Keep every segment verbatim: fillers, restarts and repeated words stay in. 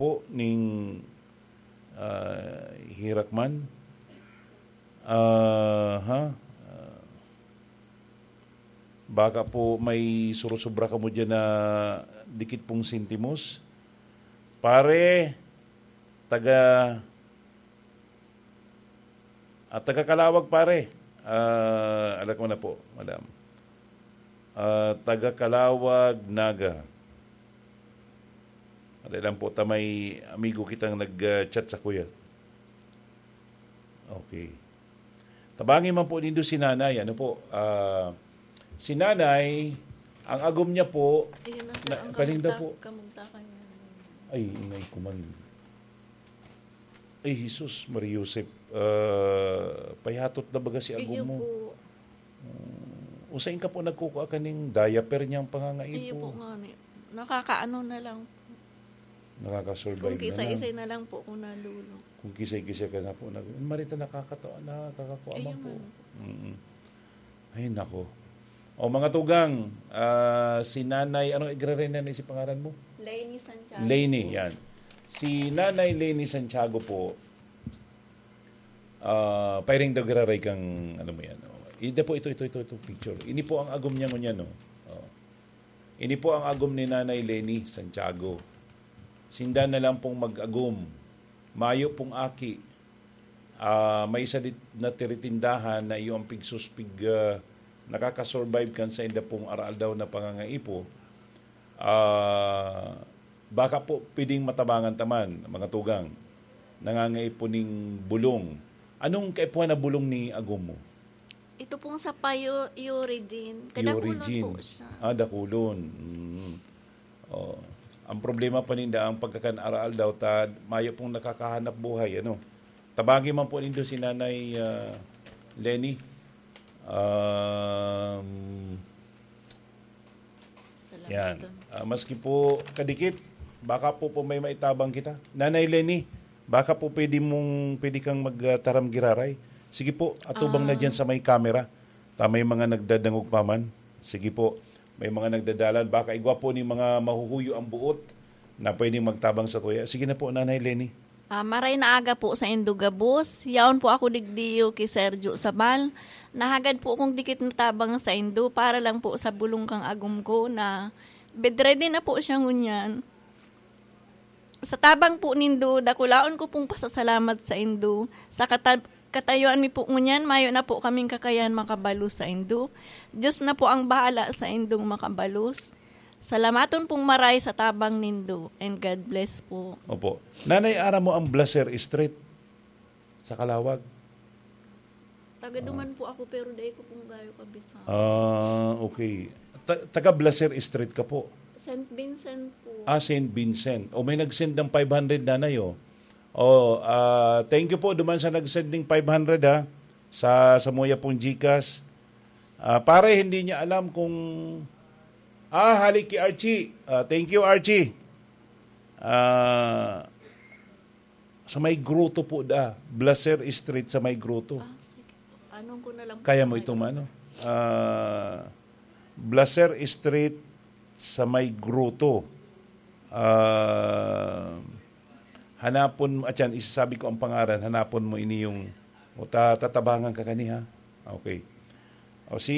po ning, ah, hirak man. Ah, ha? Ah, baka po may surusubra kamo dyan na dikit pong sentimos. Pare, taga, ah, taga Calawag, pare. Ah, alam ko na po, madam. Ah, taga Calawag, Naga. Wala lang po, ta may amigo kitang nag-chat sa kuya. Okay. Tabangi man po nindo si nanay. Ano po? Ah, si nanay, ang agom niya po, Ayun na, sir, na, ang kaninda kamugtak-, po. Kamugtakan niya. Ay, inay ko man. Ay, Jesus, Maria Josep, ah, payatot na baga si agom Iyo mo. Po. Mm, usain ka po nagkukua kaning diaper niyang pangangaipo. Iyo po nga ni. Nakakaano na lang. Nakakasurvive Kung na lang. Kisa-isay na lang po kung nalulong. Kung kisay-kisay ka na po, nag-, Marita, nakakatawa, nakakakuha Ayun man po. Nga. Mm-mm. Ay, nako. O, mga tugang, ah, si Nanay, ano, igraray na si pangaran mo? Leni Santiago Leni, po. Yan. Si Nanay Leni Santiago po, ah, pairing daw giraray kang, ano mo yan, oh. Ida po, ito, ito, ito, ito, picture. Ini po ang agom niya ngunyan, no? Oh. Ini po ang agom ni Nanay Leni Santiago. Sinda na lang pong mag-agom. Mayo pong aki. Ah, may isa dit na tiritindahan na iyo ang pigsuspig, ah, nakakasurvive kan sa inda pong aral-aldaw na pangangaipo. Ah, baka po pwedeng matabangan taman, mga tugang. Nangangaipo ning bulong. Anong kaipuhan na bulong ni agom mo? Ito pong sa payo, Euridin. Kadakulon Euridin. Po siya. Ah, dakulon. Mm. Oh. Ang problema pa ninda, ang pagkakan-aral daw, ta, mayo pong nakakahanap buhay, ano. Tabagi man po nindo si Nanay, ah, Leni. Um, Salamat yan. Ah, maski po kadikit, baka po, po may maitabang kita. Nanay Leni, baka po pwede mong, pwede kang magtaram giraray. Sige po, atubang na Ah. Dyan sa may camera. Ta may mga nagdadangog pa man. Sige po, may mga nagdadalan. Baka igwa po ni mga mahuhuyo ang buot na pwedeng magtabang sa tuya. Sige na po, Nanay Leni. Ah, maray na aga po sa indo gabos. Yaon po ako digdiyo ki Sergio Sabal. Nahagad po akong dikit na tabang sa indo para lang po sa bulong kang agom ko na bedready na po siya ngunyan. Sa tabang po nindo, dakulaon ko pong pasasalamat sa indo. Sa kata-, katayuan mi po ngunyan, mayo na po kaming kakayan makabalos sa indo. Diyos na po ang bahala sa indong makabalos. Salamaton pong maray sa tabang nindo, and God bless po. Opo. Nanay, aram mo ang Blaser Street sa Kalawag? Taga Ah. Duman po ako, pero dai ko pong gayo kabisa. Ah, okay. Ta-, taga Blaser Street ka po? Saint Vincent po. Ah, Saint Vincent. O, may nag-send ng five hundred, Nanay, oh. Oh, ah, thank you po duman sa nag-send ng five hundred, ha, sa, sa muya pong GCash. Ah, pare, hindi niya alam kung, ah, halik kay Archie. Ah, thank you, Archie. Ah, sa may grotto po da, Blaser Street sa may grotto. Ah, sige. Anong ko na lang po Kaya mo sa itong ano? Ah, Blaser Street sa may grotto. Ah, hanapon mo, at yan, isasabi ko ang pangalan, hanapon mo ini yung, o ta-, tatabangan ka kaniha. Okay. O si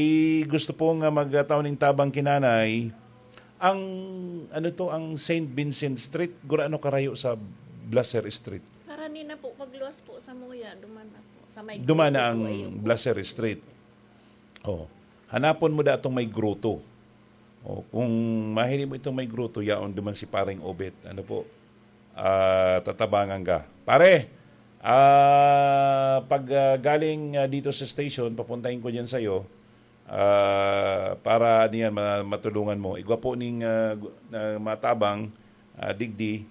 gusto pong, ah, magtaw ning tabang ki Nanay, ang, ano to, ang Saint Vincent Street, gurano karayo sa Blaser Street? Karani na po, pagluwas po sa Muya, duman na po. Sa may Duman na grotto ang po, ayun po. Blaser Street. Oh. Hanapon mo da atong may grotto. Oh, kung mahiling mo itong may grotto, yaon duman si Pareng Obet. Ano po? Ah, tatabangan ka. Pare, ah, pag, ah, galing, ah, dito sa station, papuntahin ko diyan sa'yo, ah, para niyan ma-, matulungan mo. Igwa po ning, ah, gu-, na matabang, ah, digdi,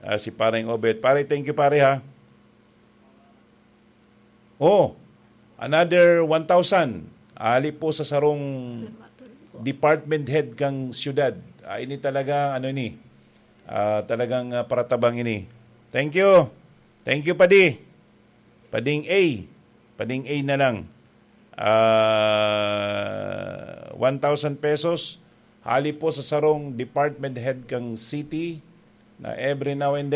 ah, si Pareng Obet. Pare, thank you, pare, ha? Oh, another one thousand. Ali po sa sarong Salamat po. Department head kang siyudad. Ah, ini talagang, ano ini, ah, talagang, ah, paratabang ini. Thank you. Thank you, Padi. Pading A. Pading A na lang. Ah, one thousand pesos. Hali po sa sarong department head kang city na every now and